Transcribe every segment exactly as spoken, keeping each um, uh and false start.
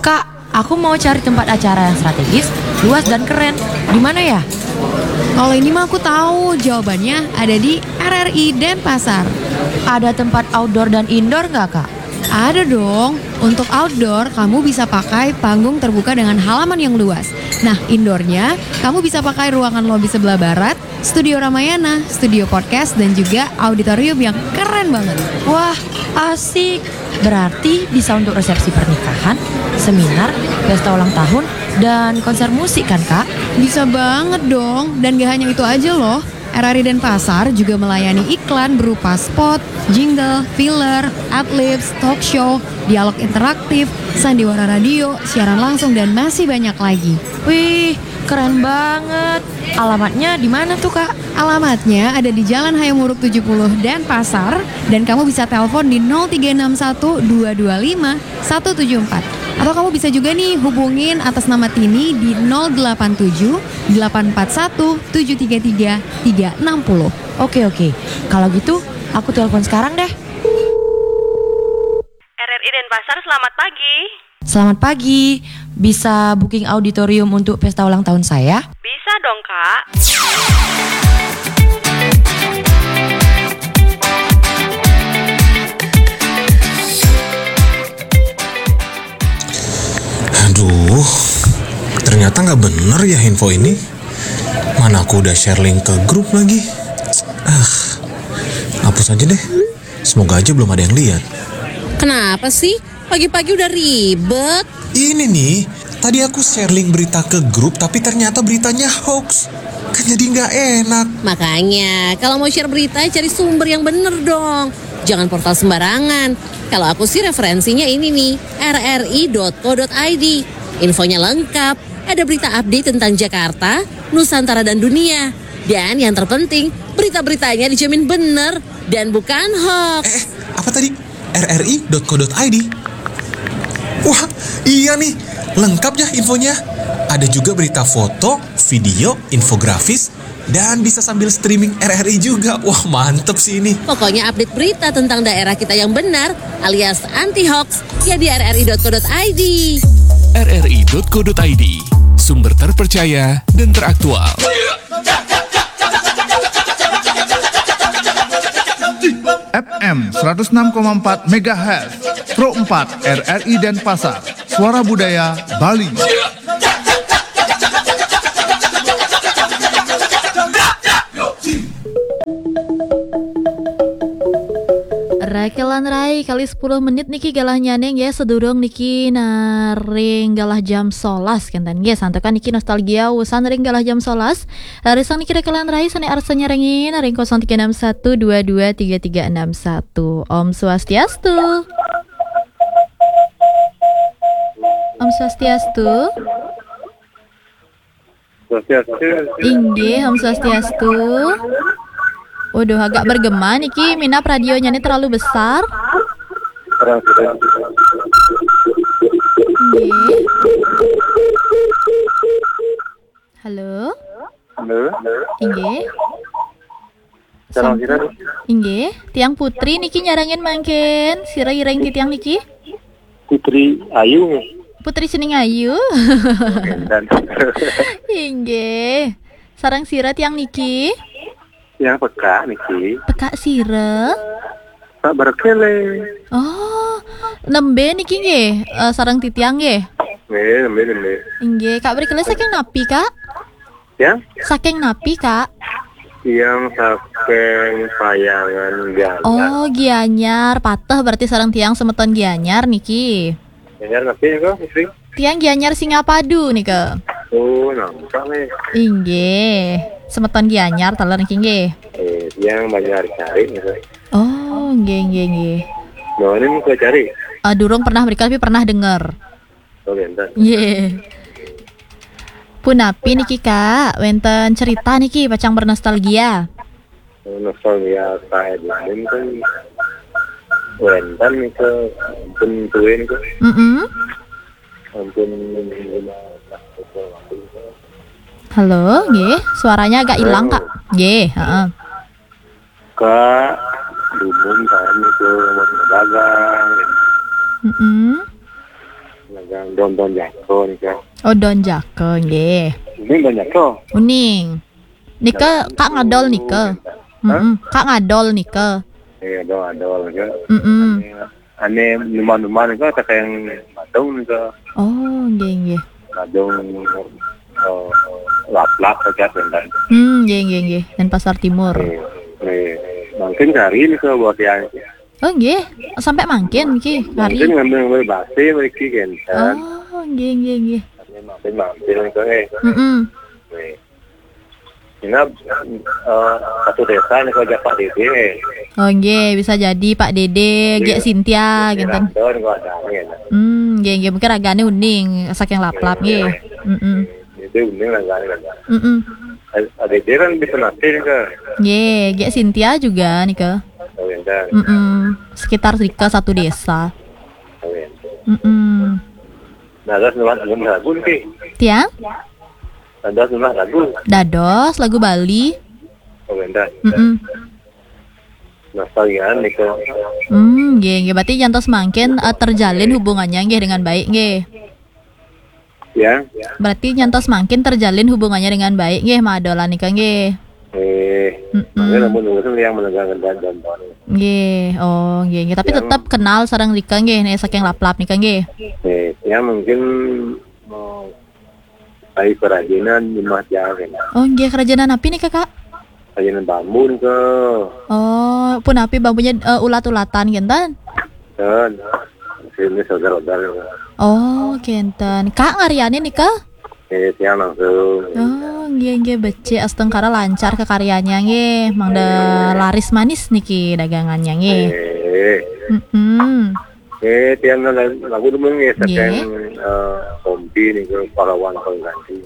Kak, aku mau cari tempat acara yang strategis, luas dan keren. Di mana ya? Kalau ini mah aku tahu, jawabannya ada di R R I Denpasar. Ada tempat outdoor dan indoor nggak, Kak? Ada dong. Untuk outdoor, kamu bisa pakai panggung terbuka dengan halaman yang luas. Nah, indoornya, kamu bisa pakai ruangan lobi sebelah barat, studio Ramayana, studio podcast, dan juga auditorium yang keren banget. Wah, asik. Berarti bisa untuk resepsi pernikahan, seminar, pesta ulang tahun, dan konser musik kan, Kak? Bisa banget dong. Dan gak hanya itu aja loh. R R I Denpasar juga melayani iklan berupa spot, jingle, filler, adlibs, talk show, dialog interaktif, sandiwara radio, siaran langsung, dan masih banyak lagi. Wih, keren banget. Alamatnya di mana tuh, Kak? Alamatnya ada di Jalan Hayam Wuruk tujuh puluh Denpasar, dan kamu bisa telepon di nol tiga enam satu dua dua lima satu tujuh empat. Atau kamu bisa juga nih hubungin atas nama Tini di nol delapan tujuh delapan empat satu tujuh tiga tiga tiga enam puluh. Oke, oke. Kalau gitu, aku telepon sekarang deh. R R I Denpasar, selamat pagi. Selamat pagi. Bisa booking auditorium untuk pesta ulang tahun saya? Bisa dong, Kak. Aduh, ternyata nggak bener ya info ini. Mana aku udah share link ke grup lagi. Ah, hapus aja deh. Semoga aja belum ada yang lihat. Kenapa sih? Pagi-pagi udah ribet. Ini nih, tadi aku share link berita ke grup tapi ternyata beritanya hoax. Kan jadi nggak enak. Makanya, kalau mau share berita, cari sumber yang bener dong. Jangan portal sembarangan. Kalau aku sih referensinya ini nih, rri.co.id. Infonya lengkap, ada berita update tentang Jakarta, Nusantara dan dunia. Dan yang terpenting, berita-beritanya dijamin bener dan bukan hoax. Eh, apa tadi? rri.co.id. Wah, iya nih, lengkap ya infonya. Ada juga berita foto, video, infografis, dan bisa sambil streaming R R I juga. Wah, mantep sih ini. Pokoknya update berita tentang daerah kita yang benar alias anti hoax ya di rri.co.id. rri.co.id, sumber terpercaya dan teraktual. F M seratus enam koma empat megahertz, Pro empat R R I Denpasar, Suara Budaya Bali. Rekelan Rai kali sepuluh menit niki galah nyaning ya, sedurung niki naring galah jam solas kenten ya, santukan niki nostalgia usan ring galah jam solas. Rarisang niki Rekelan Rai sane arsa nyarengin ring kosong tiga enam satu dua dua tiga tiga enam satu. Om Swastiastu. Om Swastiastu. Swastiastu. Inggih, Om Swastiastu. Waduh, agak bergema niki, minap radionya ini terlalu besar. Terang sudah. Inggih. Halo. Halo. Inggih. Terang Sampun. sudah. Inggih, tiang putri niki nyarengin mangkin. Sira ireng titiang niki? Putri Ayu. Putri Sining Ayu. Dan Inggih. Sareng sira tiang niki? Yang peka niki. Peka sira. Pak Berkele. Oh, nembe niki nggih, eh, sareng titiang nggih. Nih, nembe nembe. Inggih, Kak Berkele saking napi, Kak? Ya? Saking napi, Kak? Yang saking Payangan Galah. Oh, Gianyar. Pateh berarti sareng tiang semeton Gianyar niki. Dengar napi kok, Putri? Tiang Gianyar Singapadu nika. Oh, nampak nih. Inggih. Semeton Gianyar taler niki nggih. Eh, yang banyak cari gitu. Oh, nggih nggih nggih. Nah, ini mau cari. Eh, durung pernah mereka tapi pernah dengar. Oh, bentar. Nggih. Punapi niki, Kak? Wenten cerita niki pacang bernostalgia. Nostalgia saya dulu kan wenten ke ampun tuin ke Mm-mm. ampun Halo, nggih. Suaranya agak hilang, Kak. Nggih, heeh. Kak, dumun kan itu mau dagang. Mm-mm. Dagang Don Don Jaka nika. Oh, Don Jaka nggih. Ini Don Jaka. Uning. Nika Kak Ngadol nika. Hah? Mm-mm. Kak Ngadol nika. Iya, Don Ngadol nika. Mm-mm. Ane numan-numan nika tak yang Badung nika. Oh, nggih nggih. Badung, eh, laplap saja bentar. Hmm, nggih nggih nggih. Dan Pasar Timur. Nih, nih. Mungkin hari nika buat yang Oh, nggih. Sampai mangkin niki hari. Mungkin ngambil ngambil basi mriki kenten. Oh, nggih nggih nggih. Mampir-mampir nika, eh. Mm-mm. Nih. Ini, eh, satu desa nih kalau Pak Dede. Oh, nggih, bisa jadi Pak Dede, Gek Sintia gitu. Randon kalau ada nih. Hmm, nggih nggih, mungkin ragane uning saking laplap nggih. Mm-mm. Itu uning ragane. Mm-mm. Pak Dede kan di Penate nika. Nggih, Gek Sintia juga nika. Oh, iya. Mm-mm. Sekitar rika satu desa. Oh, iya. Mm-mm. Nah, terus nulis lagu nih. Tiang? Ada nulis lagu. Dados lagu Bali. Oh, bentar. Mm-mm. Nostalgia nih kok. Hmm, nggih, nggih. Berarti nyantos mangkin, eh, terjalin hubungannya nggih dengan baik nggih. Ya. Berarti nyantos mangkin terjalin hubungannya dengan baik nggih, Mak Adolan nika nggih. Eh, Mm-mm. Makanya namun urusan yang menegangkan dan dan. Nggih, oh nggih, nggih. Tapi tetap kenal sareng rika nggih, nek saking laplap nika nggih. Eh, ya mungkin mau cari kerajinan di Mas Jawa kan. Oh nggih, kerajinan apa nih Kak? Kerajinan bambu nih ke. Oh, pun apa bambunya, eh, ulat-ulatan kenten? Dan ini saudara-saudara. Oh, kenten. Kak ngaryane nika? Eh, tiang langsung. Oh, nggih nggih becik, astungkara lancar kekaryanya nggih. Mangda laris manis niki dagangannya nggih. Eh. Mm-mm. Eh, tiang lagu dulu nggih saking, eh, Kompi nih ke pahlawan pengganti.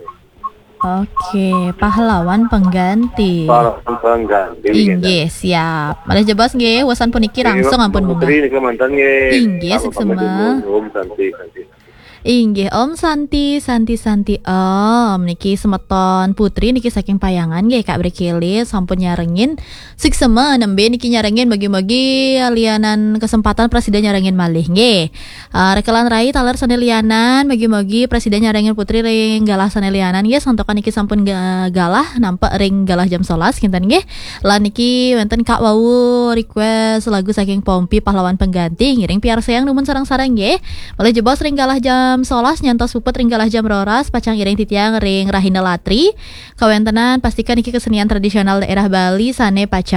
Oke, pahlawan pengganti. Pahlawan pengganti. Inggih, siap. Malih jebos nggih, wusan puniki langsung ampun munggah. Putri nika mantan nggih. Inggih, suksma. Om Santi, Santi. Inggih, Om Santi, Santi, Santi, Om. Niki semeton Putri niki saking Payangan nggih, Kak Brekele sampun nyarengin. Suksma nembe niki nyarengin, bagi-bagi lianan kesempatan prasida nyarengin malih nggih. Eh, rekelan rai taler sane lianan, bagi-bagi prasida nyarengin Putri ring galah sane lianan nggih, santokan niki sampun ga-, galah nampak ring galah jam sebelas kinten nggih. Lan niki wenten Kak wau request lagu saking Pompi Pahlawan Pengganti, ngiring piarsayang numun sareng-sareng nggih. Malih jebos ring galah jam sebelas nyantos puput ring galah jam roras, pacang iring titiang ring Rahina Latri. Kawentenan pastikan niki kesenian tradisional daerah Bali sane pacang